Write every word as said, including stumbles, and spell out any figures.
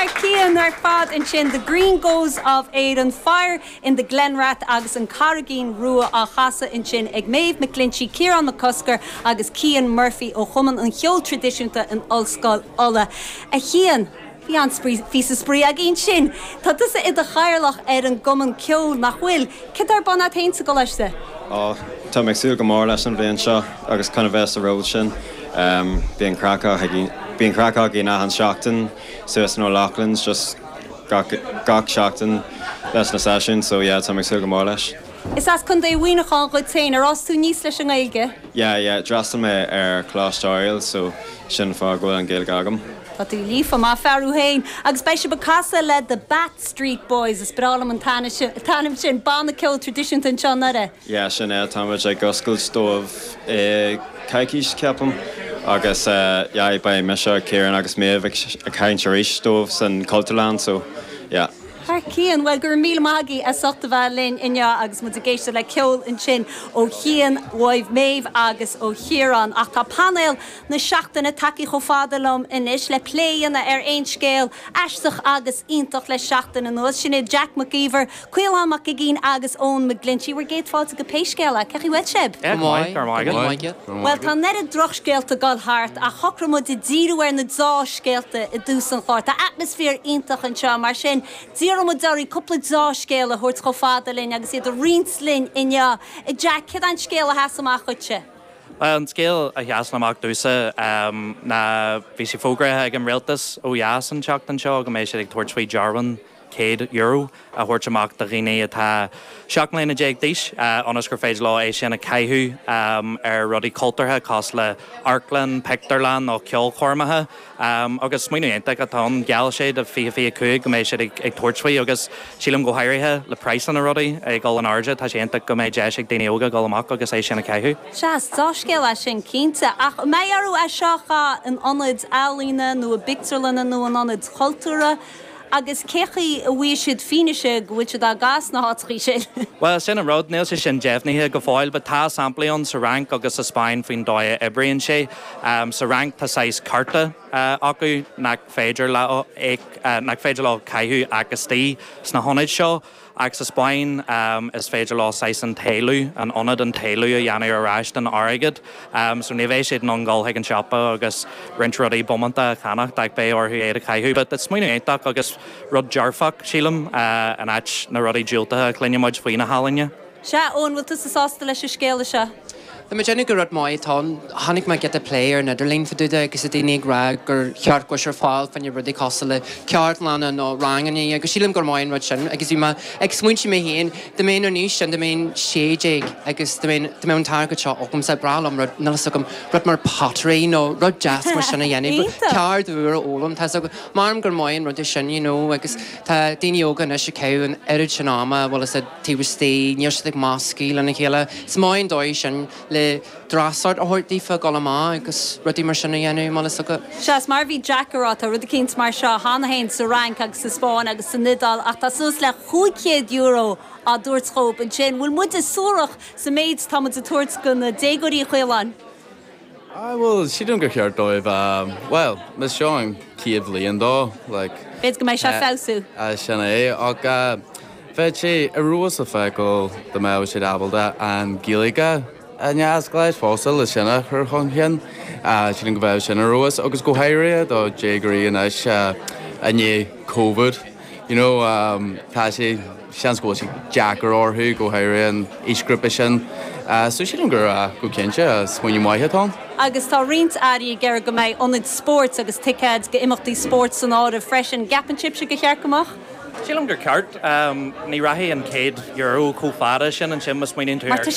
Thar cionn ar fad ansin the Green Goes of Éireann Fire in the Glenrath agus an Carraigín Rua á chasadh ansin ag Maeve McClinchy, Ciarán Mac Cosgair agus Cian Murphy ó Chumann an Cheoil Traidisiúnta in Ollscoil Uladh. A Chian, Bhí an píosa spraoi againn sin. Tá tusa i do chathaoirleach ar an gcumann ceoil nach bhfuil, Cad tá ar bun agat féin sa gcoláiste? Á Tá mé ag súil go mór leis an bhliain seo agus chun a bheith sa ról sin. Um, Bíonn bíonn craic againn an seachtain suas in O'Loughlin's just gach, gach seachtain leis na seisiúin, so yeah, tá mé ag súil go mór leis. Is as Contae Mhuineacháin dhuit féin ar fhás tú aníos leis an nGaeilge? Yeah, yeah, d'fhreastail mé ar Choláiste Oiriall, so sin fáth go bhfuil an Ghaeilge agam. Tá tú líofa maith fearú féin, agus beidh sibh ag casadh le the Bat Street Boys is breá liom an t-ainm sin banna ceoil traidisiúnta anseo i nDoire. Yeah, sin é táimid ag oscailt dóibh i coicís ceapaim agus uh, yeah, beidh mise Ciarán agus Maeve ag caint arís dóibh san Cultúrlann, so yeah. Thar cionn well gur míle maith as ucht a bheith linn inniu agus muid ag éisteacht le ceol ansin ó Chian uaidh Maeve agus ó Chiarán ach tá painéal na seachtaine tagtha chomh fada liom anois le plé a dhéanamh ar aon scéal aisteach agus iontach le seachtain anuas sin é Jack McGeever, Caolán Mac Uiginn agus Eoin McGlinchey bhur gcéad fáilte go pé scéal é cén chaoi a bhfuil sibh. Well tá neart drochscéalta ag dul thart ach shocraigh muid díriú ar na dea-scéalta i dtús an chláir. Tá atmaisféar iontach anseo mar sin d'iarr muid oraibh cúpla dea-scéal a thabhairt chomh fada linn agus iad a roinnt linn inniu. Jack cad é an scéal a sheas amach dhuitse. An scéal a sheas amach domhsa um, ná bhí sé fógraithe ag an rialtas ó dheas an tseachtain seo go mbeidh siad ag tabhairt faoi dearbhán céad euro a thabhairt amach do dhaoine atá seacht mbliana déag d'aois ionas gur féidir leo é sin a chaitheamh um, ar rudaí cultúrtha cosúil le amharclann, pictiúrlann nó ceolchoirmeacha um, agus smaoineamh iontach atá ann gheall sé do fiche fiche cúig go mbeidh siad ag, ag tabhairt faoi agus sílim go háirithe le praghas na rudaí ag dul in airde tá sé iontach go mbeidh deis ag daoine óga dul amach agus é sin a chaitheamh. Sea dea-scéal é sin cinnte ach mbeidh orthu é seo a in ionaid ealaíne nó i bpictiúrlanna nó in ionaid chultúrtha, agus cén chaoi a bhfaighidh siad fianaise go bhfuil siad agus na háiteacha sin. Well sin an rud níl sé sin deimhnithe go fóill, but tá samplaí ann sa Fhrainc agus sa Spáinn faoin dóigh a oibríonn sé. Um, sa Fhrainc tá saghas cárta uh, acu nach féidir le uh, nach féidir leo caitheamh ach istigh sna hionaid seo. Ach sa Spáinn um, is féidir leo saghas an t-éileamh an ionad an t-éileamh a dhéanamh ar ais den airgead. Um, so ní bheidh siad in ann dul chuig an siopa agus roinnt rudaí bómanta a cheannach ach beidh orthu é a chaitheamh, but it's smaoineamh iontach agus rud dearfach sílim uh, in áit na rudaí diúltacha a chluineann muid faoi na healaíona. Sea Eoin bhfuil tú sásta leis an scéal seo. Tá mé déanamh gur rud maith tá chonaic mé giota plé ar an idirlíon fá dtaobh de agus a daoine ag rá gur cheart go ar fáil fá choinne rudaí cosúil le ceardlanna nó ranganna agus sílim gur maith an rud sin agus bhí mé ag smaointiú mé féin dá mbeinn an aois sin dá mbeinn sé déag agus dá mbeinn an t-airgead seo agamsa b'fhearr liom rud níl agam rud mar pottery nó rud deas mar sin a dhéanamh ceard úr a fhoghlaim tá mar gur maith an rud é sin you know, agus tá daoine óga anois ag caitheamh an oiread sin ama bhfuil a taobh istigh níl siad ag meascadh lena chéile. Is maith an dóigh sin le dreasacht a thabhairt daofa dul amach agus rudaí mar sin a dhéanamh mar is go. Seas mar bhí Jack ag rá tá rud éicint mar seo cheana féin sa Fhrainc agus sa Spáinn agus san Iodáil ach tá suas le cúig chéad euro á dtabhairt dóibh ansin bhfuil muide suarach sa méid tá muid ag tabhairt do na déagóirí chuileáin. I well sílim gur cheart dóibh um, well mis seo an chéad bhliain dó like B'fhéidir go mbeidh sé feabhsú. Uh, sin é ach uh, bheadh sé ar fheabhas a feiceáil dá mbeadh siad ábalta an Ghaeilge a neasgléis fása le sinna chur chun cinn sin go bheith sin ar fheabhas agus go háirithe do déagóirí anois i ndiaidh COVID. You know, um, tá sé seans go bhfuil sé deacair orthu go háirithe an aoisghrúpa sin. Uh, so sílim gur uh, go cinnte smaoineamh maith atá. Agus tá roinnt airí ag iarraidh go mbeidh ionaid spóirt agus ticéid go imeachtaí spóirt san áireamh freisin gceapann sibhse gur cheart go mbeadh? Sílim gur ceart um, ní rachaidh an céad euro chomh fada sin ansin má smaoiníonn tú Mar tá